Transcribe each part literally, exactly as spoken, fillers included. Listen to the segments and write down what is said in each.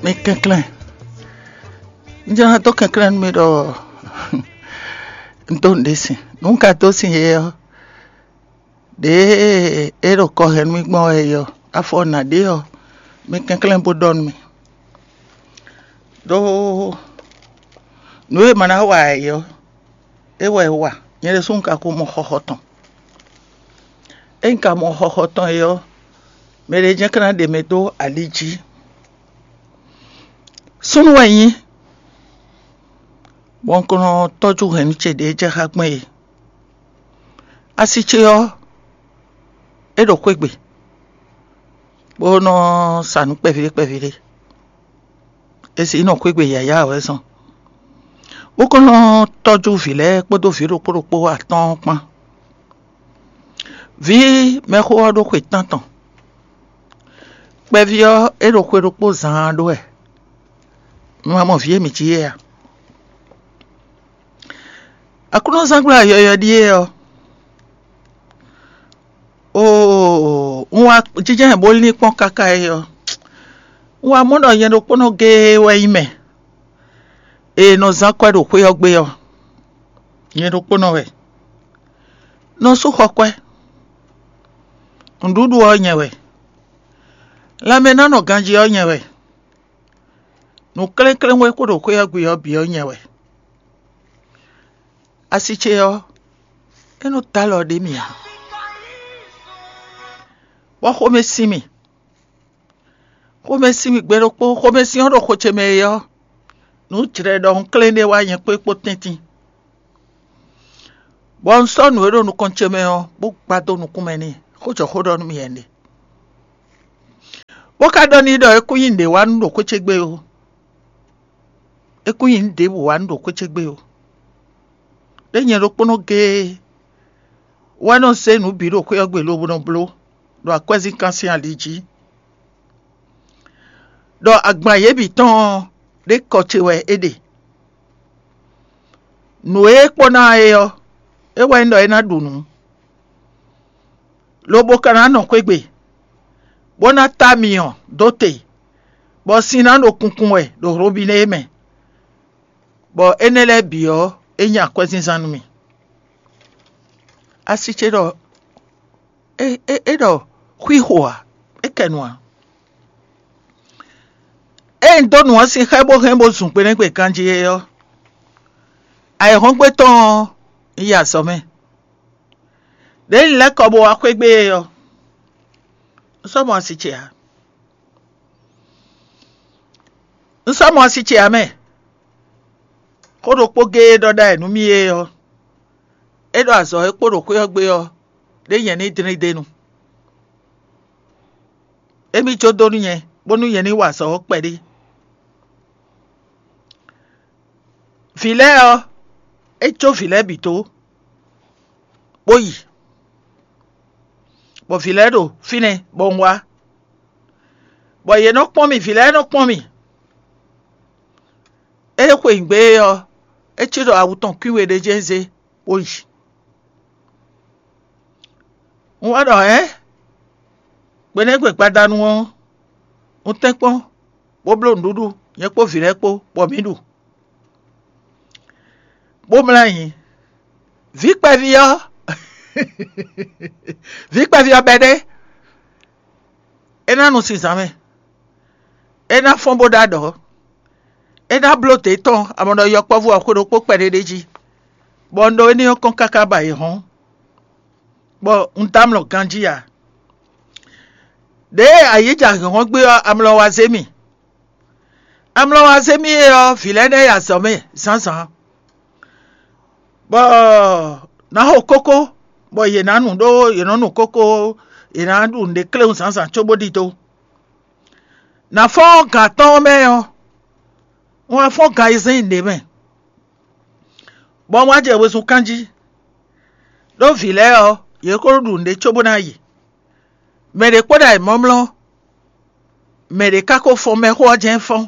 Mi kɛnklɛ́n. Un jló ná dó kɛnklɛ́n nú mi ɖɔ un dó nǔɖé sin. Nǔ un ka dó sin é ɔ́, ɖěe é ɖo kɔ hɛn nú mì gbɔn wɛ é ɔ́, afɔ nǎ ɖé ɔ́, mi kɛnklɛ́n bó ɖɔ nú mì. Ɖó nǔ e ma ná wa ɛ é ɔ́, é wɛ é wa. Nyɛ ɖésú un ka ko mɔ xɔxɔ tɔn. Ényí un ka mɔ xɔxɔ tɔn é ɔ́, mɛ ɖé jɛ́n ka ná ɖe mɛ dó ali jí. Súnnu wɛ nyí, bɔ un ko nɔ tɔ́jú hɛ̌nnu ce ɖě jɛ xá gbɔn é. Asi ce ɔ́, é ɖo xwé gbe, bó nɔ sa nǔ kpɛví ɖé kpɛví ɖé. È sǐ nɔ xwé gbe yǎyá wɛ zɔn, bó ko nɔ tɔ́jú vǐ lɛ́ɛ kpódó vǐ ɖokpó ɖokpó atɔ́ɔ́n kpán. Vǐ mɛxó ɔ́ ɖó xwe tántɔn. Kpɛví ɔ́, é ɖo xwe ɖokpó zaan ɖó wɛ. Mi ma mɔ vǐ e mǐ cí é a? Aklúnɔzángbla yɔywɛ ɖíe ɔ́, oo, un wá jínjɔ́n bó lín kpɔ́n káká é ɔ́, un wá mɔ ɖɔ nyɛ ɖokpónɔ géé wɛ nyí mɛ e nɔ zán kwɛ́ ɖo xwé ɔ́ gbe ɔ́. Nyɛ ɖokpónɔ wɛ. Nɔ sú xɔ kwɛ́. Nǔɖuɖu ɔ́ nyɛ wɛ. Lanmɛ ná nɔ ganjí ɔ́ nyɛ wɛ. Nǔ klɛ́nklɛ́n e kpo ɖo xwé ɔ́ gbe ɔ́ bǐ ɔ́ nyɛ wɛ. Asi ce ɔ́, é nɔ dó alɔ ɖé mì ǎ, bɔ xomɛ sin mì. Xomɛ sin mì gbe ɖokpó, xomɛ sin ɔ́ ɖo xo ce mɛ é ɔ́, nǔ jlɛ ɖɔ un klɛ́n ɖé wá nyɛ kpó é kpó tɛ́ntin. Bɔ un sɔ́ nǔ e ɖo nukɔn ce mɛ ɔ́, bó gbá dó nukún mɛ n'i, xó jɔ xó ɖɔ nú mì wɛ un ɖe. Bó ka ɖɔ n'i ɖɔ é kún nyí nǔɖé wá nú ɖo xwé ce gbe ó. É kún nyí nǔ ɖěbǔ wá nú ɖo xwé ce gbe ó. Ɖé nyɛ ɖokpónɔ géé wɛ nɔ zé nǔ bǐ ɖo xwé ɔ́ gbe lobo nɔ bló ɖo akwɛ́zínkan sín ali jí, ɖɔ agban yě bǐ tɔn ɔ́, ɖé kɔ ce wɛ é ɖe. Nǔ e é kpɔ́ ná é ɔ́, é wɛ nyí ɖɔ é ná ɖu nǔ, lobo ka ná nɔ xwé gbe, bó ná tá myɔ dó te, bɔ sin ná ɖo kunkun wɛ ɖo hlobínɛ é mɛ, bɔ énɛ́ lɛ́ɛ bǐ ɔ́, é nyí akwɛ́zínzán nú mì. Asi ce ɖɔ é é é ɖɔ xwixo ǎ, é kɛ nu ǎ. Ée un dó nǔ ɔ́ sin xá ɛ bó hɛn bó zun gbe nɛ́ gbe ganjí é ɔ́, ayǐhɔ́ngbe tɔn ɔ́, un yi azɔ̌ mɛ. Đěe un lɛ́ kɔ bó wá xwé gbe é ɔ́, un sɔ́ mɔ asi ce ǎ. Un sɔ́ mɔ asi ce ǎ mɛ. Xó ɖokpó géé ɖɔ ɖ'ayǐ nú mì é ɔ́, é ɖo azɔ̌ e kpo ɖo xwé ɔ́ gbe ɔ́, ɖé nyɛ ní dlín d'é nu. Émí jó dó nú nyɛ, bónú nyɛ ní wa azɔ̌ ɔ́ kpɛɖé. Vǐ lɛ́ɛ ɔ́, é jó vǐ lɛ́ɛ bǐ dó, bó yi, bɔ vǐ lɛ́ɛ ɖo fínɛ́ bɔ un wá, bɔ yě nɔ kpɔ́n mì, vǐ lɛ́ɛ nɔ kpɔ́n mì. Ée xweyǐgbe é ɔ́, é cí ɖɔ awu tɔn kwín we ɖé jɛ́n zé, bó yi. Un wá ɖɔ hɛ̌n, gbe nɛ́ gbe gbadanu ɔ́, un tɛ́nkpɔ́n, bó bló nǔɖuɖu, nyɛ kpó vǐ lɛ́ɛ kpó, bɔ mǐ ɖu, bó mlá nyi. Vǐ kpɛví ɔ́, vǐ kpɛví ɔ́ bɛ́ ɖé, é ná nu sin zǎn mɛ, é ná fɔ́n bó ɖó aɖɔ̌, é ná bló dě tɔn amɔ̌ ɖɔ yɔkpɔ́vú ɔ́ xwe ɖokpó kpɛɖé ɖé jí, bɔ un ɖó éní ɔ́ kɔn káká ba yě hɔ́n, bɔ un dó amlɔ ganjí ǎ. Ɖěe ayǐ jɛ ahinhɔ́n gbé ɔ́, amlɔ wá zé mì. Amlɔ wá zé mì é ɔ́, vǐ lɛ́ɛ nɛ́ yi azɔ̌ mɛ zǎnzǎn, bɔ nǎ xo kókó, bɔ yě ná nu ɖó yě nɔ nu kókó, yě ná ɖu nǔɖé kléwún zǎnzǎn cóbó ɖidó. Nǎ fɔ́n gan atɔ́ɔ́n mɛ ɔ́, un wá fɔ́n gan ayizɛ́n ɖě mɛ, bɔ un wá jɛ wezun kán jí, ɖó vǐ lɛ́ɛ ɔ́, yě ko ɖo ɖu nǔɖé cóbó ná yi. Mɛ ɖě kpo ɖo ayǐmlɔ́mlɔ́, mɛ ɖě ka ko fɔ́n mɛxó ɔ́ jɛ́n fɔ́n.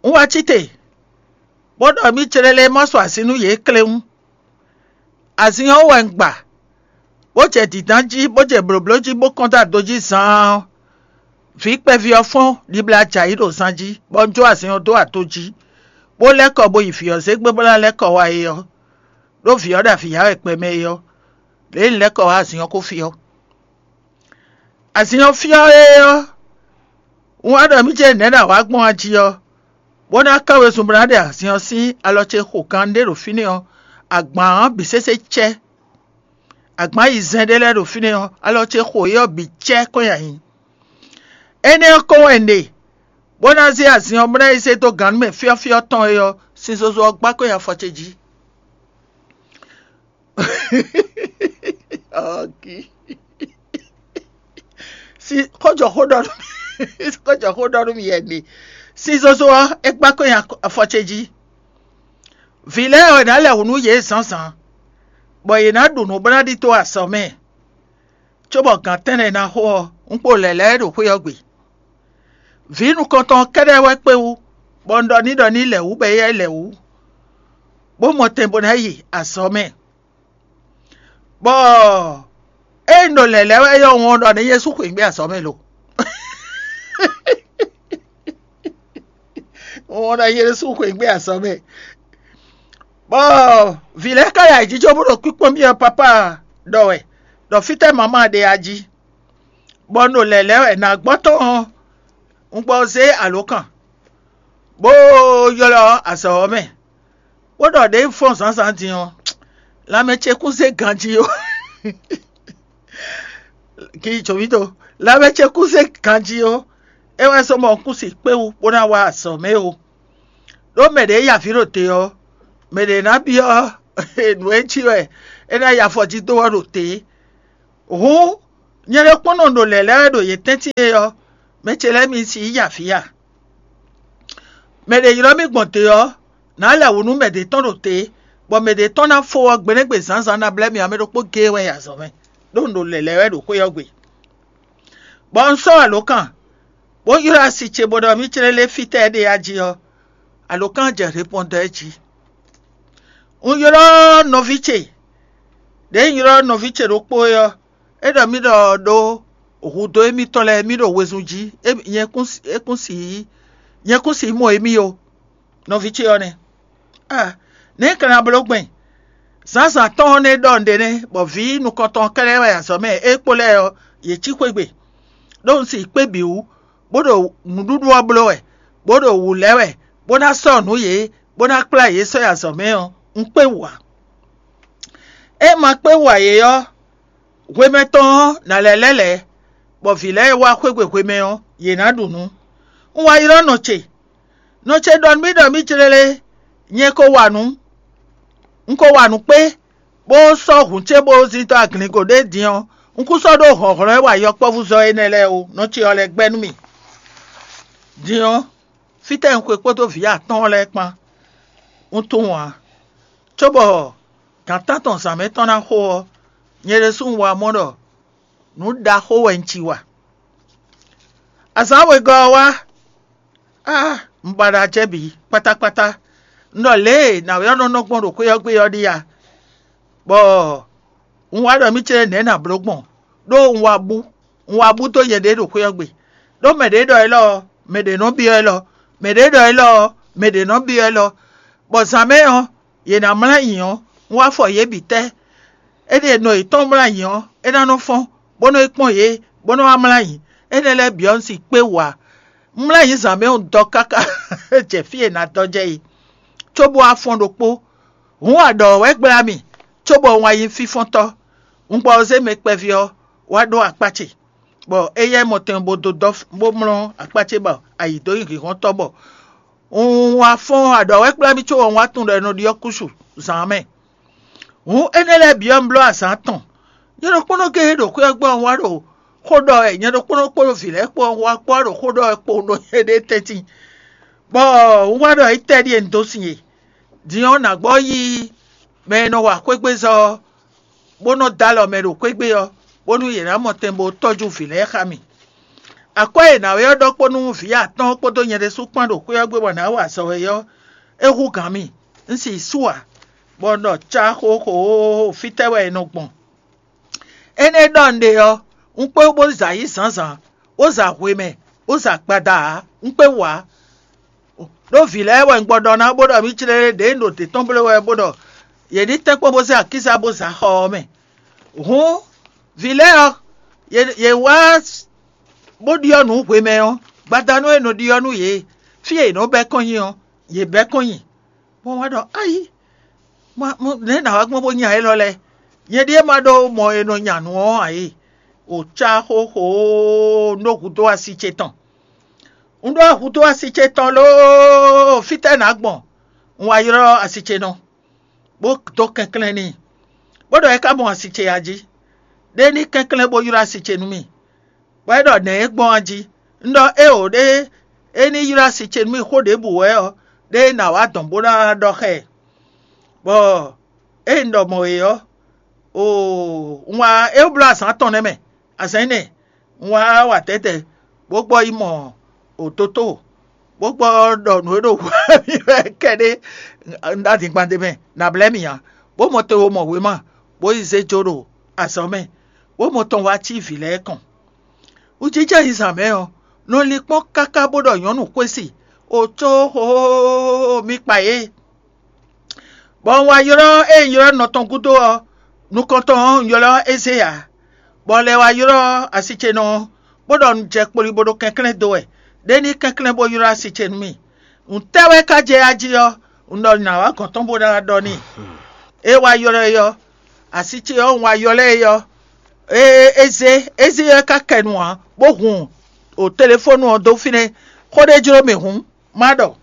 Un wá cí te, bó ɖɔ mì clɛ́lɛ́ ma sɔ así nú yě kléwún. Azin ɔ́ wɛ un gba, bó jɛ dǐndán jí, bó jɛ blǒbló jí, bó kɔn dó ado jí zaan ɔ́, Vǐ kpɛví ɔ́ fɔ́n ɖibla jɛ ayǐ ɖo zan jí, bɔ un jó azin ɔ́ dó ato jí, bó lɛ́ kɔ bo yi vǐ ɔ́ zé gbé bó ná lɛ́ kɔ wá é ɔ́, ɖó vǐ ɔ́ ɖo avǐ ya wɛ gbɛmɛ é ɔ́, lě e un lɛ́ kɔ wá azin ɔ́ ko fyɔ́. Azin ɔ́ fyɔ́ é ɔ́, un wá ɖɔ mì ce nɛ̌ ɖo awǎ gbɔn a jí ɔ́, bó ná kán wezun bó ná ɖe azin ɔ́ sín alɔ ce xo kan ɖé ɖo fínɛ́ ɔ́, agban ɔ́ bǐ sésé cɛ́. Agban yi zɛn ɖé lɛ́ɛ ɖo fínɛ́ ɔ́, alɔ ce xo é ɔ́ bǐ cɛ́ kɔn nyi ayǐ. Énɛ́ ɔ́ kɔn wɛ un ɖe, bó ná zé azin ɔ́ bó ná yi zé dó gannú mɛ fyɔ́fyɔ́ tɔn é ɔ́, sin zozo ɔ́ gbá kɔn nyi afɔ ce jí. Ɔ́, gí. Xó jɔ xó ɖɔ nú mì xó jɔ xó ɖɔ nú mì yɛ ɖe. Sin zozo ɔ́, é gbá kɔn nyi afɔ ce jí. Vǐ lɛ́ɛ wɛ ná lɛ wǔ nú yě zǎnzǎn, bɔ yě ná ɖu nǔ bó ná ɖidó azɔ̌ mɛ, cóbɔ gǎn tɛ́nnɛ ná xo ɔ́, un kpo lɛ̌ lɛ́ɛ ɖo xwé ɔ́ gbe. Vǐ nukɔntɔn ɔ́ kɛ́ɖɛ́ wɛ kpé wú, bɔ un ɖɔ n'i ɖɔ ní lɛ wǔ bɔ éyɛ́ lɛ wǔ, bó mɔ tɛn bó ná yi azɔ̌ mɛ. Bɔ ée un ɖo lɛ̌ lɛ́ɛ wɛ ɔ́, un ɖɔ n'i Jezu xweyǐgbe azɔ̌ mɛ lo. Un ɖɔ n'i Jezu xweyǐgbe azɔ̌ mɛ. Bɔ vǐ lɛ́ɛ ka yi ayǐjínjɔ́n bó ɖo kpíkpɔ́n byɔ́ pápá ɖɔ wɛ, ɖɔ fítɛ́ mama ɖe a jí, bɔ un ɖo lɛ̌ lɛ́ɛ wɛ nǎ gbɔ tɔn ɔ́, un gbɔ zé alǒkan, bó ylɔ́ azɔ̌ ɔ́ mɛ, bó ɖɔ ɖě un fɔ́n zǎnzǎn din ɔ́, lanmɛ ce kún zé ganjí ó. Kí jǒmítɔn, lanmɛ ce kún zé ganjí ó, é wɛ zɔ́n bɔ un kún si kpé wú bó ná wá azɔ̌ mɛ ó. Ɖó mɛ ɖě ya avǐ ɖo te ɔ́, mɛ ɖě ná byɔ́ nǔ e jí wɛ é ná yi afɔ jí dó ɔ́ ɖo te. Hǔn, nyɛ ɖokpónɔ ɖo lɛ̌ lɛ́ɛ wɛ ɖo yě tɛ́ntin é ɔ́, mɛ ce lɛ́ɛ mi si yi avǐ a? Mɛ ɖě ylɔ́ mì gbɔn te ɔ́, nǎ lɛ wǔ nú mɛ ɖě tɔn ɖo te, bɔ mɛ ɖě tɔn ná fó ɔ́ gbeɖégbé zǎnzǎn ná blɛ́ mì ǎ, mɛ ɖokpó géé wɛ yi azɔ̌ mɛ, ɖó un ɖo lɛ̌ lɛ́ɛ wɛ ɖo xwé ɔ́ gbe. Bɔ un sɔ́ alǒkan, bó ylɔ́ asi ce bó ɖɔ mì clélé fítɛ́ é ɖe a jí ɔ́, alǒkan jɛ repɔndɔ jí. Un ylɔ́ nɔví ce, ɖěe un ylɔ́ nɔví ce ɖokpó é ɔ́, é ɖɔ mì ɖɔ ɖó hudó émítɔn lɛ́ɛ mì ɖo wezun jí, é kún si nyɛ kún si mɔ émí ó. Nɔví ce ɔ́ nɛ́. A, nɛ̌ un ka ná bló gbɛn? Zǎnzǎn tɔn ɔ́ nɛ́ ɖɔ nǔɖé nɛ́, bɔ vǐ nukɔntɔn kɛ́ɖɛ́ wɛ azɔ̌ mɛ é kpo lɛ́ɛ ɔ́, yě cí xwé gbe, ɖó un si kpé bǐ wú, bó ɖo nǔɖuɖu ɔ́ bló wɛ, bó ɖo wǔ lɛ́ wɛ, bó ná sɔ́ nǔ yě, bó ná kplá yě sɔ́ yi azɔ̌ mɛ ɔ́, un kpé wǔ ǎ. É ma kpé wú ǎ é ɔ́, hwemɛ tɔn ɔ́, nǎ lɛ́ lɛ́ lɛ̌, bɔ vǐ lɛ́ɛ e wá xwé gbe hwemɛ ɔ́, yě ná ɖu nǔ. Un wá ylɔ́ nɔ ce. Nɔ ce ɖɔ nú mì ɖɔ mì clélé, nyɛ ko wa nǔ, un ko wa nǔ kpé, bó sɔ́ hǔn ce bó zin dó aglingo ɖé din ɔ́, un kún sɔ́ ɖó hlɔ̌nhlɔ́n e wa yɔkpɔ́vúzɔ́ énɛ́ lɛ́ɛ ó, nɔ ce ɔ́ lɛ́ gbɛ́ nú mì. Din ɔ́, fítɛ́ un xwe kpódó vǐ atɔ́ɔ́n lɛ́ɛ kpán? Un tunwun ǎ, cóbɔ gǎn tántɔn zǎn mɛ tɔn ná xo ɔ́, nyɛ ɖésú un wá mɔ ɖɔ nǔ ɖaxó wɛ un ci wa. Azǎn wegɔ́ ɔ́ wá, á, un ba ɖo acɛ bǐ kpátákpátá. Un ɖɔ lě e nǎwe ɔ́ nɔ nɔ gbɔn ɖo xwé ɔ́ gbe ɔ́ ɖíe a? Bɔ un wá ɖɔ mì ce nɛ̌ nǎ bló gbɔn, ɖó un wá bú, un wá bú dó nyɛɖée ɖo xwé ɔ́ gbe. Ɖó mɛ ɖě ɖɔ élɔ́ ɔ́, mɛ ɖě nɔ byɔ́ élɔ́; mɛ ɖě ɖɔ élɔ́ ɔ́, mɛ ɖě nɔ byɔ́ élɔ́. Bɔ zǎn mɛ ɔ́, yě ná mlá ayǐ ɔ́, un wá fɔ yě bǐ tɛ́. Éɖée nɔ yětɔn mlá ayǐ ɔ́, é ná nɔ fɔ́n, bó nɔ́ yi kpɔ́n yě, bó nɔ́ wá mlá ayǐ. Énɛ́ lɛ́ɛ bǐ ɔ́, un si kpé wǔ ǎ. Un mlá ayǐ zǎn mɛ ɔ́ dɔ káká jɛ fí e è nǎ dɔ jɛ é, cóbó wá fɔ́n ɖokpó. Hǔn a ɖɔ wɛ gbla mì, cóbɔ un wá nyí fínfɔ́ntɔ́. Un gbɔ ɔ́ zé mɛ kpɛví ɔ́ wá ɖó akpá ce, bɔ éyɛ́ mɔtɛn bó dó dɔ́ bó mlɔ́ akpá ce bɔ ayǐ dó nyí hǐnhɔ́ntɔ́ bɔ un wá fɔ́n aɖɔ̌wɛ́kplá mì cóbɔ un wá tunwun ɖɔ è nɔ ɖyɔ́ kúsu zǎn ɔ́ mɛ. Hǔn énɛ́ lɛ́ɛ bǐ ɔ́, un bló azǎn tɔn. Nyɛ ɖokpónɔ géé ɖo xwé ɔ́ gbɔ ɔ́, un wá ɖo xó ɖɔ wɛ, nyɛ ɖokpónɔ kpódó vǐ lɛ́ɛ kpó ɔ́, un wá kpó wá ɖo xó ɖɔ wɛ kpowun ɖo nyɛɖée tɛ́ntin, bɔ un wá ɖɔ étɛ́ ɖíe un dó sin e? Din ɔ́, nǎ gbɔ yí mɛ e nɔ wa xwégbezɔ́ ɔ́, bó nɔ́ dó alɔ mɛ ɖo xwé gbe ɔ́, bónú yě ná mɔ tɛn bó tɔ́jú vǐ lɛ́ɛ xá mì. Akwɛ́ e nǎwe ɔ́ ɖɔ kpó nú vǐ atɔ́ɔ́n kpódó nyɛ ɖésú kpán ɖo xwé ɔ́ gbe bɔ nǎ wa azɔ̌ é ɔ́, é hú gǎn mì. Un si su ǎ, bɔ un ɖɔ cá xóxóóó, fítɛ́ wɛ è nɔ gbɔn? Énɛ́ ɖɔ un ɖe ɔ́, un kpé bó za yí zǎnzǎn, bó za hwemɛ, bó zɛ agbada ǎ, un kpé wú ǎ. Ɖó vǐ lɛ́ɛ wɛ un gbɔ ɖɔ ná bó ɖɔ mì clé ɖě un ɖo dě tɔn bló wɛ bó ɖɔ yě ní tɛ́nkpɔ́n bó zé akíza bó zɛ axɔ ɔ́ mɛ. Hǔn vǐ lɛ́ɛ ɔ́, yě wá bó ɖyɔ́ nǔ hwemɛ ɔ́, gbadanu e nɔ ɖyɔ́ nú yě, fí e yě nɔ bɛ́ kɔn nyi ɔ́, yě bɛ́ kɔn nyi. Bɔ wá ɖɔ: "Ayi, nɛ̌ nǎ wá gbɔn bó nya élɔ́ lɛ́ɛ? Nyɛ ɖíe ma ɖó mɔ e nɔ nya nǔ ɔ́ ǎ é. O cá xóxó nú hudó asi ce tɔn. Un ɖó hudó asi ce tɔn lóó, fítɛ́ nǎ gbɔn?" Un wá ylɔ́ asi ce nɔ, bó dó kɛnklɛ́n n'i, bó ɖɔ é ka mɔ asi ce a jí. Ɖé ní kɛnklɛ́n bó ylɔ́ asi ce nú mì, bɔ é ɖɔ: "Nɛ̌ é gbɔn a jí?" Un ɖɔ: "Éeǒ ɖé, é ní ylɔ́ asi ce nú mì xó ɖěbǔ wɛ ɔ́, ɖé nǎ wá dɔn bó ná ɖɔ xá ɛ." Bɔ ée un ɖɔ mɔ̌ é ɔ́, oo, un wá é bló azǎn atɔn nɛ́ mɛ, azǎn énɛ́ un wá wa tɛ̌tɛ́, bó gbɔ yi mɔ òtótó, bó gbɔ ɖɔ nǔ e ɖo hwɛ mì wɛ kɛɖé un ɖó adingban ɖé mɛ, nǎ blɛ́ mì ǎ, bó mɔ te wo mɔ wěma, bó yi zé jó ɖo azɔ̌ mɛ, bó mɔ tɔn wá cí vǐ lɛ́ɛ kɔn. Wǔjijɛ yi zǎn mɛ ɔ́, nɔ linkpɔ́n káká bó ɖɔ nyɔ̌nu xwé si, o có xóxóxóxó mi kpa yě. Bɔ un wá ylɔ́ ée un ylɔ́ nɔ tɔn gúdo ɔ́, nukɔntɔn ɔ́, un ylɔ́ Ezée ǎ, bɔ un lɛ́ wá ylɔ́ asi ce nɔ ɔ́, bó ɖɔ un jɛ kpoli bó ɖo kɛnklɛ́n dó wɛ, ɖé ní kɛnklɛ́n bó ylɔ́ asi ce nú mì. Nǔtɛ́ wɛ ka jɛ ya jí ɔ́, un ɖɔ nǎ wá gɔ̌n tɔn bó ná ɖɔ n'i. É wá ylɔ́ ɛ ɔ́, asi ce ɔ́, un wá ylɔ́ ɛ ɔ́, é é zé é zé ɔ́ ka kɛ nu ǎ, bó hun o telefónu ɔ́ dó fínɛ́. Xó ɖé jló mì hǔn, má ɖɔ.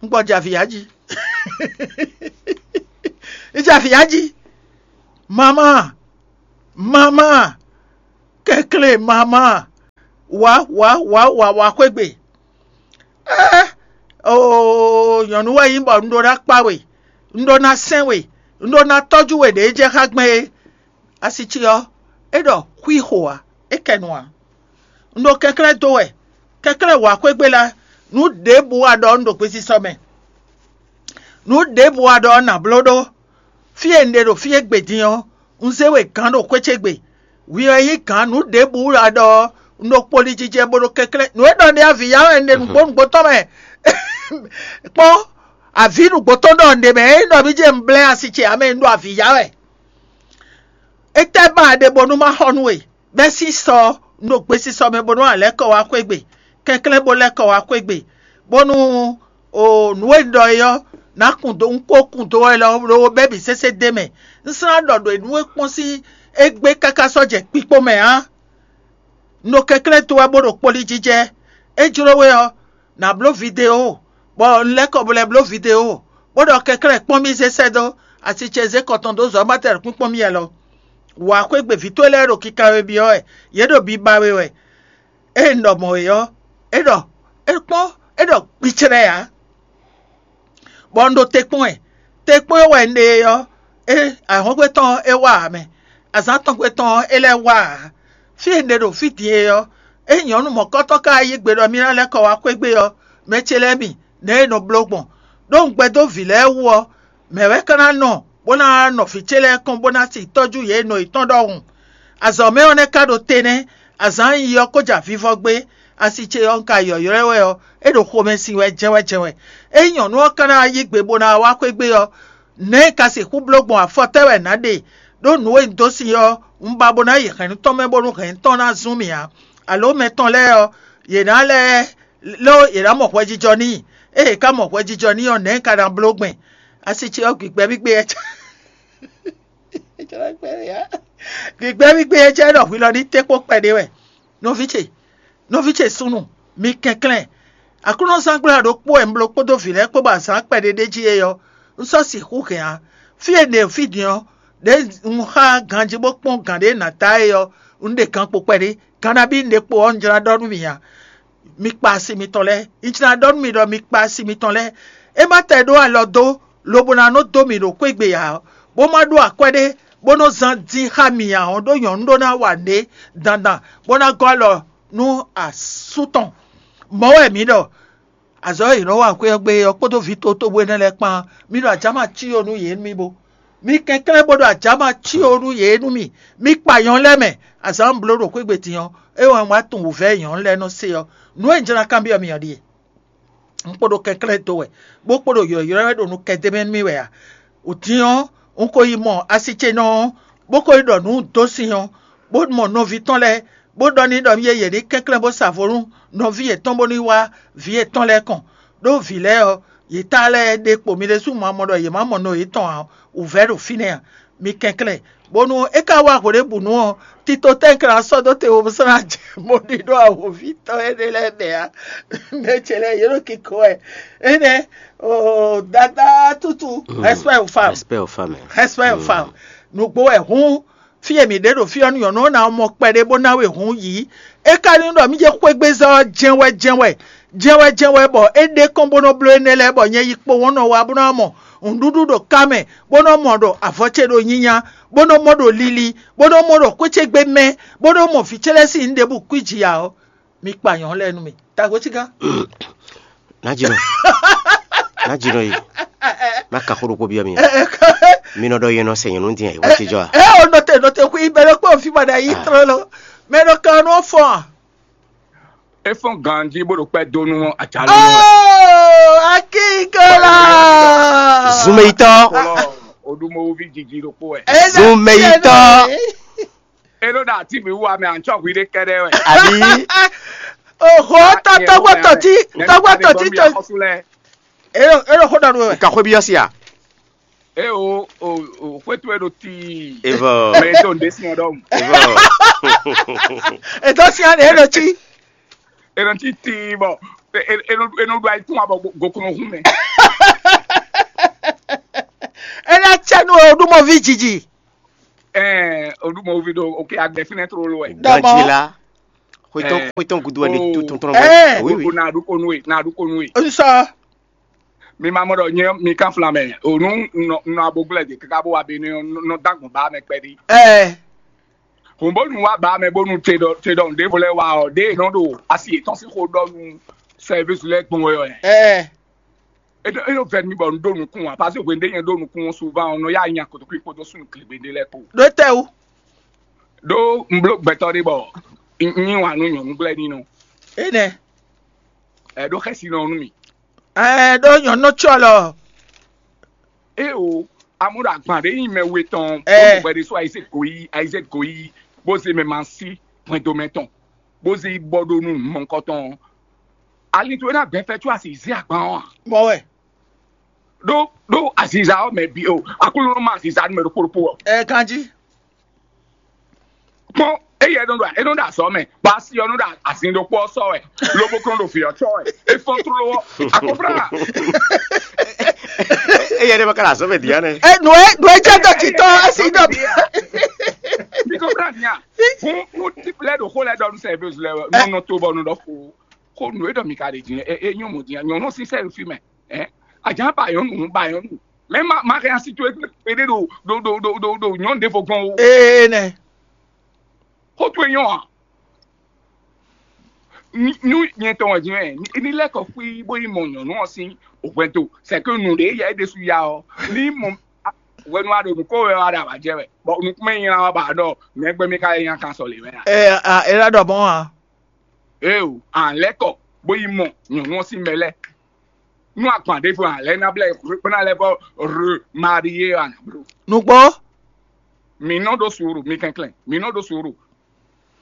Un gbɔ jɛ avǐ ya jí. Un jɛ avǐ ya jí. Mamá, mamá, kɛnklɛ́n mamá, wǎ wǎ wǎ wǎ wá xwé gbe. Ɛ́, oo, nyɔ̌nu wɛ nyí bɔ un ɖó ná kpá we, un ɖó ná sɛn we, un ɖó ná tɔ́jú we ɖě jɛ xá gbɛn é. Asi ce ɔ́, é ɖɔ xwixo ǎ, é kɛ nu ǎ. Un ɖo kɛnklɛ́n dó wɛ, kɛnklɛ́n wǎ xwé gbe lá, nǔ ɖěbǔ wa ɖɔ un ɖo gbesisɔ mɛ. Nǔ ɖěbǔ wa ɖɔ nǎ bló ɖó. Fí e un ɖe ɖo fí e gbe din ɔ́, un zé we gǎn ɖo xwé ce gbe. Hwi ɔ́ nyí gǎn nǔ ɖěbǔ wɛ a ɖɔ ɔ́, un ɖo kpoli jijɛ bó ɖo kɛnklɛ́n. Nǔ e ɖɔ un ɖe avǐ ya wɛ un ɖe nǔgbó nǔgbó tɔn mɛ. Kpɔ́n, avǐ nǔgbó tɔn ɖɔ un ɖe mɛ, é nyí ɖɔ mí jɛ un blɛ́ asi ce ǎ mɛ, un ɖo avǐ ya wɛ. Étɛ́ ba a ɖe bónú má xɔ nú we? Bɛ́ sísɔ un ɖo gbesisɔ mɛ bónú a lɛ́ kɔ wá xwé gbe, kɛnklɛ́n bó lɛ́ kɔ wá xwé gbe, bónú o nǔ e un ɖɔ é ɔ́, ná kun dó un kó kun dó wɛ lɔ ɖó bɛ́ bǐ sésé d'é mɛ. Un slán ɖɔ ɖo nǔ e kpɔ́n sín égbé káká sɔ́ jɛ kpikpó mɛ ǎ. Un ɖo kɛnklɛ́n dó wɛ bó ɖo kpoli jijɛ. É jló we ɔ́, nǎ bló video, bɔ un lɛ́ kɔ bo lɛ́ bló video, bó ɖɔ kɛnklɛ́n kpɔ́n mì zé sɛ́ dó asi ce zé kɔ tɔn dó zɔ̌ ma tɛ kpínkpɔ́n mì alɔ. Wǎ xwé gbe vǐ towe lɛ́ɛ ɖo kikanwe byɔ́ wɛ, yě ɖo biba we wɛ. Ée un ɖɔ mɔ̌ é ɔ́, é ɖɔ é kpɔ́n, é ɖɔ gbicɛ́lɛ́ ǎ. Bɔ un ɖo te kpɔ́n ɛ. Te kpɔ́n e wɛ un ɖe é ɔ́, é ahɔ́ngbe tɔn ɔ́, é wá ǎ mɛ. Azǎn tɔn gbe tɔn ɔ́, é lɛ́ wá ǎ. Fí e un ɖe ɖo fí din é ɔ́, é nyɔ̌nu mɔ̌kɔ́tɔn ka yí gbe ɖɔ mì ná lɛ́ kɔ wá xwé gbe ɔ́, mɛ ce lɛ́ɛ mi, nɛ̌ e nɔ bló gbɔn? Ɖó un gbɛdó vǐ lɛ́ɛ wú ɔ́, mɛ̌ wɛ ka ná nɔ bó ná nɔ vǐ ce lɛ́ɛ kɔn bó ná si tɔ́jú yě nɔ yětɔn ɖɔhun? Azɔ̌ mɛ ɔ́ nɛ́ ka ɖo te nɛ́, azǎn e yi ɔ́ ko ja vivɔ gbé, asi ce ɔ́ un ka yɔ̌ylɔ́ ɛ wɛ ɔ́, é ɖo xomɛ sin wɛ jɛ́wɛ́jɛ́wɛ́. Ényí nyɔ̌nu ɔ́ ka ná yí gbe bó ná wá xwé gbe ɔ́, nɛ̌ un ka sixú bló gbɔn afɔ tɛ́ wɛ nǎ ɖe? Ɖó nǔ e un dó sin ɔ́, un ba bó ná yi hɛ̌nnu tɔn mɛ bónú hɛ̌nnu tɔn ná zún mì ǎ. Alo mɛ tɔn lɛ́ɛ ɔ́, yě ná lɛ́ ló yě ná mɔ hwɛjijɔ n'i. Ée yě ka mɔ hwɛjijɔ n'i ɔ́, nɛ̌ un ka ná bló gbɛn? Asi ce ɔ́, gbigbɛ́ mì gbé ɛ gbigbɛ́ mì gbé ɛ cɛ ɖɔ hwi lɔ ní té kpó kpɛɖé wɛ. Nɔví ce, nɔví ce súnnu, mi kɛnklɛ́n. Aklúnɔzángbla ɖokpó wɛ un bló kpódó vǐ lɛ́ɛ kpó bɔ azǎn kpɛɖé ɖ'é jí é ɔ́, un sɔ́ sixú hɛn ǎ. Fí e un ɖe fí din ɔ́, ɖěe un xá ganjí bó kpɔ́n gǎn ɖé nǎ ta é ɔ́, un ɖe gan kpo kpɛɖé. Gan nabí un ɖe kpo ɔ́, un jlá ɖɔ nú mi ǎ. Mi kpa asi mitɔn lɛ́ɛ. Un jlá ɖɔ nú mi ɖɔ mi kpa asi mitɔn lɛ́ɛ. É má tɛ ɖó alɔ dó, lobo ná nɔ dó mì ɖo xwé gbe ǎ, bó má ɖó akwɛ́ ɖé, bó nɔ zán dín xá mì ǎ ɔ́, ɖó nyɔ̌nu ɖó ná wa nǔɖé dandan, bó ná gɔ́ alɔ nú asú tɔn. Mɔ̌ wɛ mǐ ɖɔ, azɔ̌ e è nɔ wa xwé ɔ́ gbe ɔ́ kpódó vǐ totóbú énɛ́ lɛ́ɛ kpán, mǐ ɖo ajǎ ma cí ó nú yě nú mì bó. Mi kɛnklɛ́n bó ɖo ajǎma cí ó nú yě nú mì. Mi kpa nyɔ̌nu lɛ́ɛ mɛ. Azǎn bló ɖo xwé gbe din ɔ́, é wɛ un wá tunwun wǔvɛ́ e nyɔ̌nu lɛ́ɛ nɔ se ɔ́. Nǔ e un jló ná kanbyɔ́ mi ɔ́ ɖíe: un kpo ɖo kɛnklɛ́n dó wɛ, bó kpo ɖo ylɔ̌ylɔ́ wɛ ɖo nukɛn d'é mɛ nú mì wɛ a? Din ɔ́, un ko yi mɔ asi ce nɔ ɔ́, bó ko yi ɖɔ nǔ dó sin ɔ́, bó mɔ nɔví tɔn lɛ́ɛ, bó ɖɔ n'i ɖɔ mi e yě ní kɛnklɛ́n bó sa vo nú nɔví yětɔn bó ní wá vǐ yětɔn lɛ́ɛ kɔn, ɖó vǐ lɛ́ɛ ɔ́, yě ta lɛ́ɛ ɖe kpo mi ɖésú ma mɔ ɖɔ yě má mɔ no yětɔn ǎ, wǔvɛ́ ɖo fínɛ́ a? Mi kɛnklɛ́n, bónú é ka wá hweɖěbǔnu ɔ́, tito tɛ́nkɛ́n ná sɔ́ dó te wo bó sɔ́ ná jɛ mɔ ɖi ɖó awǒvi tɔn énɛ́ lɛ́ɛ mɛ ǎ. Mɛ ce lɛ́ɛ yě ɖo kiko wɛ. Énɛ́, oo, dada tútú, respect aux femmes. Respect aux femmes. Respect aux femmes. Nǔgbó wɛ hǔn, fí e mǐ ɖe ɖo fí ɔ́, nyɔ̌nu ɔ́ ná mɔ kpɛɖé bó ná we hǔn yǐ. É ka ní ɖɔ mí jɛ xwégbézɔ́ ɔ́ jɛ́n wɛ jɛ́n wɛ, jɛ́n wɛ jɛ́n wɛ bɔ é ɖe kɔn bó nɔ́ bló énɛ́ lɛ́ɛ bɔ nyɛ yi kpo wɔ̌n nɔ wá bó ná mɔ nǔɖuɖu ɖo ká mɛ, bó nɔ́ mɔ ɖo avɔ ce ɖo nyinya, bó nɔ́ mɔ ɖo lili, bó nɔ́ mɔ ɖo xwé ce gbe mɛ, bó nɔ́ mɔ vǐ ce lɛ́ɛ sín nǔ ɖěbǔ kwíji ǎ ɔ́, mi kpa nyɔ̌nu lɛ́ɛ nú mì. Taxwécígán. Ná jínɔ, ná jínɔ yi, ná ka xó ɖokpó byɔ́ mi. Mi nɔ ɖɔ yɛn nɔ sɛ nyɔ̌nu dín ayǐ wá tijɔ a? Ɛ o nɔte nɔte xwi bɛ ɖokpó fi ma ɖe ayi trɔ lɔ. Mɛ ɖo kan nɔ fɔn a? E fɔn ganji bó ɖo kpɛ dó nú ajalɔ nú wɛ. Oh, akínkala. Zumeyitɔ, Kɔlɔ odumowovi jiji ɖokpó wɛ. Zumeyitɔ. E ɖo ɖo ati mi wú amɛ antsɔ hwi ɖe kɛɖɛ wɛ. Àbí? Oho, tɔgbɔ tɔti, tɔgbɔ tɔti tɔ. Xɔsu lɛ. Ero ero xɔ dɔ do wɛ. Ka xwé byɔ́ si a? E o o o xwetu e ɖo tii. Evɔ. Mɛ to nde si ɔdɔm. Evɔ. Eto si an ero tsi. E nɔ ti tii bɔ e e e nɔ e nɔ ɖo ayi tún abɔ gokun hun mɛ. Ena tsɛ nu o ɖumɔ vi dzidzi. Ɛɛ o ɖumɔ vi ɖo oke agbɛ finɛ tro lo wɛ. Dɔmɔ. Gajila. Xwetɔn xwetɔn gudu wɛ ne tu tɔntɔn Ɛɛ. Oui oui. O na ɖu konu e na ɖu konu e. Nsɔ. Mi ma mɔ ɖɔ nyɛ mi kan flan mɛ o nu nɔ nɔ aboglɛ de kaka bó wa be ne nɔ dagbɔn ba mɛ kpɛɖi. Ɛɛ. Hɔn bónú wá bá mɛ bónú te ɖɔ te ɖɔ nǔɖévo lɛ́ɛ wá ɔ́, ɖěe nɔ ɖo asi yětɔn sín xó ɖɔ nú sɛvísi lɛ́ɛ gbɔn wɛ ɔ́. Ɛɛ. É ɖo é ɖo vɛ́ nú mì bɔ un ɖó nukún ǎ, pasi hwenu ɖé nyɛ ɖó nukún ɔ́ suvan ɔ́, nɔ yá nya kotokwi kpódó súnnu kligbe ɖé lɛ́ɛ kpó. Ɖó tɛ o. Ɖó un bló gbɛtɔ́ ɖé bɔ un yí wǎn nú nyɔ̌nu gblɛ́ ní nɔ. Enɛ. Ɛ ɖó xɛsi nɔ nú mì. Ɛɛ ɖó nyɔ̌nu tsɔ lɔ. É o, amúɖo agban ɖé nyi mɛ we tɔn Ɛ. bó bɛɖe só ayizɛ́ goyí ayizɛ́ goyí bó zé mɛ ma sí hwɛndo mɛ tɔn bó zé yi bɔ ɖó nú mɔkɔ tɔn. Ali to é ná gbɛn fɛ tso asi zé agban ɔ́ a? Mɔ wɛ. Ɖó ɖó aziza ɔ́ mɛ bi o, aklúnɔ ma aziza nú mɛ ɖokpó ɖokpó ɔ. Ɛ kanji. Kpɔn eyɛ nɔ ɖo e nɔ ɖo azɔ mɛ, bɔ asi ɔ́ nɔ ɖo azin ɖokpó ɔ́ sɔ wɛ, lobo kɔn ɖo vǐ ɔ́ tsɔ wɛ, e fɔn tló ɔ́, akɔfra. Eya ɖe ma ka le azɔ mɛ dia nɛ. Ɛ nù ɛ nù ɛ jẹ́ dɔ̀tí tọ́ ẹ sì dọ̀. Mi kɔfra nia, fún fún típlɛ ɖo xó lɛ ɖɔ nú sɛvius lɛ nɔ nɔ to bɔ nɔ ɖɔ xó xó nù e ɖɔ mi ka ɖe din ɛ e nyɔmɔ din nyɔnu si sɛ fi mɛ ɛ ajan ba yɔnu ba yɔnu mɛ ma ma kɛ asi to e ɖe ɖo ɖo ɖo ɖo ɖo ɖo nyɔnu ɖe fo gbɔn o. Ee nɛ. Xó towe nyɔ a? Nú nyɛ tɔn wɛ din ɛ ní lɛ kɔ xwí bó yi mɔ nyɔnu ɔ sín hwɛndo sɛkɛ nù ɖe yɛ ɖésú ya ɔ ní mɔ hwenu aɖo nukó wɛ wa ɖe awǎjɛ wɛ bɔ nukúnmɛ nyi la wa ba ɖɔ nɛgbɛ mi ka yɛ nya kan sɔ le wɛ a? Ɛ a ɛ la ɖɔ mɔ a. Eo, an lɛ kɔ bó yi mɔ nyɔnu ɔ sín mɛ lɛ nú agban ɖé fún an lɛ ná blɛ kpéná lɛ bɔ re marie an blo. Nùgbó. Mi nɔ ɖó sùúrù mi kɛnklɛn mi nɔ ɖó sùúrù.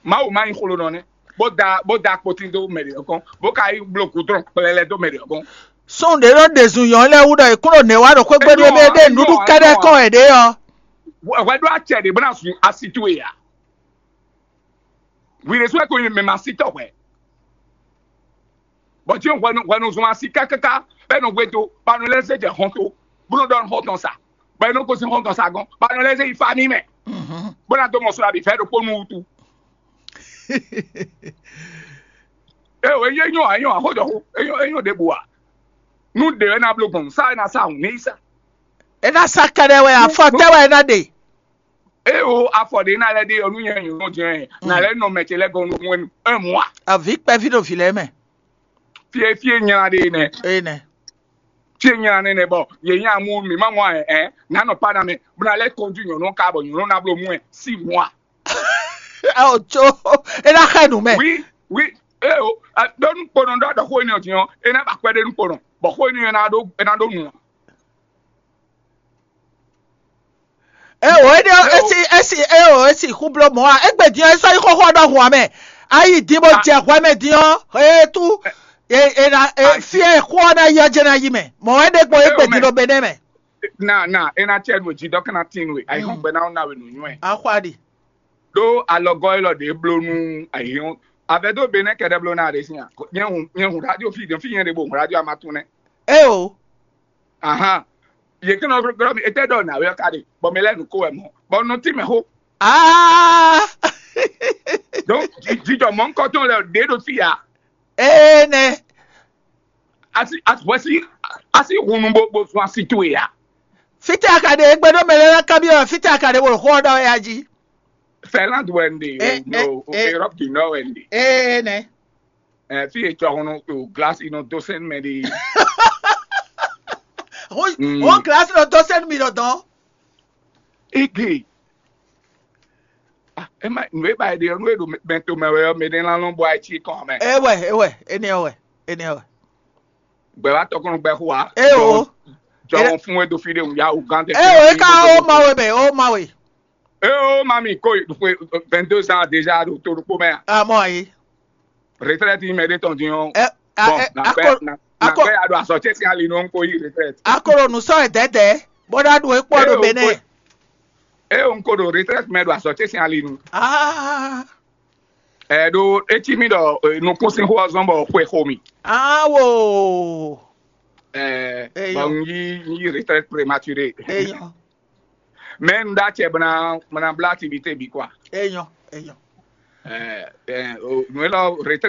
Mawu ma nyí xlonɔ nɛ́ bó da bó da kpotín dó mɛ ɖě ɔ́ gɔ́n bó ka yi bló gudrɔn kplɛlɛ dó mɛ ɖě ɔ́ gɔ́n. Sɔn ɖě nɔ ɖe zun yɔn lɛ wú ɖɔ ìkúrò nɛ̌ wá ɖo xwégbé ɖé ɖé ɖé nǔɖú kɛɖɛ kɔn ɛ ɖé ɔ. Hwɛ ɖó acɛ ɖě bó ná zun asi towe ǎ. Hwi ɖésú wɛ ko nyi mɛ ma sí tɔ́ hwɛ. Bɔ tí hwɛnu hwɛnu zɔn asi kákáká bɔ é nɔ hwe dó bɔ a nɔ lɛ́ zé jɛ hɔn tó bó nɔ ɖɔ hɔn tɔn sa bɔ é nɔ gosín hɔn tɔn sa gɔ́n bɔ a nɔ lɛ́ zé yi fa n'i mɛ bó ná dó mɔ sɔ abǐ fɛ ɖokpó nú wútu. É o é nyɔ é nyɔ axójɔxó é nyɔ é nyɔ ɖěbǔ a nú ɖě wɛ ná bló gbɔn sa é ná sa hǔn ní sa. É ná sa kɛɖɛ wɛ afɔ tɛ wɛ é ná ɖe. É o afɔ ɖě ná lɛ́ ɖe ɔ́ nú nyɛ nyɔ̌nu jɛ́n ná lɛ́ nɔ mɛ ce lɛ́ɛ gɔ́n nukún é mɔ a. Avi kpɛví ɖo vǐ lɛ́ɛ mɛ. Fie fie nyla ɖe nɛ. Eye nɛ. Fie nya nɛnɛ bɔ yě nya mú mǐ ma mɔ ɛ ɛ nǎ nɔ pa ná mɛ bó ná lɛ́ kɔnjú nyɔ̌nu ká bɔ nyɔ̌nu ná bló mú ɛ sí mɔa. Ɛ o tso é ná xɛ nǔ mɛ. Wi wi e o ɖó nukponɔ ɖɔ ɖɔ xó énɛ́ ɔ́ din ɔ́ é ná ba kwɛ́ ɖé nukponɔ bɔ xó énɛ́ ɔ́ é ná ɖó é ná ɖó nǔ. É o é ɖe esi esi é o esi xú bló mɔ̌ a égbé din ɔ́ é sɔ́ yi xóxó ɔ́ ɖɔhun ǎ mɛ. Ayi din bó jɛ hwɛ mɛ din ɔ́ é tú é é ná é fí é xó ɔ́ ná yi ɔ́ jɛ ná yi mɛ mɔ̌ é ɖe gbɔn égbé din ɖo Benɛ́ mɛ. Na na é ná cɛ nú jí dɔ́ kɛ́ ná tín nú é ayihɔn gbɛ ná ná we nǔnywɛ. Axwa ɖi. Ɖó alɔgɔ́ élɔ́ ɖě bló nú ayihɔn avɛdó Benɛ́ kɛɖɛ bló ná ɖe sín a nyɛ hun nyɛ hun radio fi fi nyɛ ɖe bo hun radio amatún nɛ. É o. Ahan. Yě kɛ́n nɔ glɔ́ mi étɛ́ ɖɔ nǎwe ɔ́ ka ɖe bɔ mi lɛ́ nǔ ko wɛ mɔ̌ bɔ nɔ tí mɛ xó. Aa. Donc jijɔ mɔ̌nkɔtɔn lɛ ɖě ɖo fí ya. Énɛ́. Asi asi hwɛsi asi hunu bo bo zun asi towe ya. Fítɛ́ a ka ɖe égbé ɖó mɛ lɛ́ɛ ná kanbyɔ́ wɛ fítɛ́ a ka ɖe bolo xó ɔ́ ɖɔ wɛ a jí. Finlande wɛ n ɖe Eh, no eh, eh. Europe du Nord wɛ n ɖe. Énɛ́. Ɛ fi e tsɔ hunu o glasi nɔ dó sɛn mɛ ɖe. Ó ó gilasi nɔ dó sɛn mi nɔ dɔn. Ege. Ah, ema nue ba ɖe nue ɖo mɛto mɛ wɛ ɔ́ mɛ ɖe lan lɔn bɔ ayi tsi kɔn mɛ. Ewɛ ewɛ enɛ wɛ enɛ wɛ. Gbɛ wa tɔkɔn gbɛ xo wa. Eo. Jɔn fún we do fi ɖe ŋu ya o gan tɛ. Eo eka o ma we mɛ o ma we. Eo mami ko vingt-deux ans déjà ɖo to ɖokpo mɛ. Amɔ ayi. Retraite mɛ ɖe tɔn din ɔn. Ɛ a Bon, ɛ na akɔ gbɛ na na akɔ gbɛ ya ɖo asɔtsɛ sin ali nɔ n ko yi retraite. akɔrɔ nusɔ ɛdɛdɛ bɔda ɖo ekpɔ ɖo Eo, Benɛ. ko- Eo n ko ɖo retraite mɛ ɖo asɔtsɛ sin ali nu. Aa Ɛ ɖo etsi mi ɖɔ nukún sin xó ɔzɔn bɔ xwe xo mi. awo. Ɛ Eyo. Bon n yi n yi retraite prématurée. Eyɔn Mais n da cɛ bena bena bla activité bi quoi. eyɔn eyɔn. Ɛ ɛ o nu elɔ retraite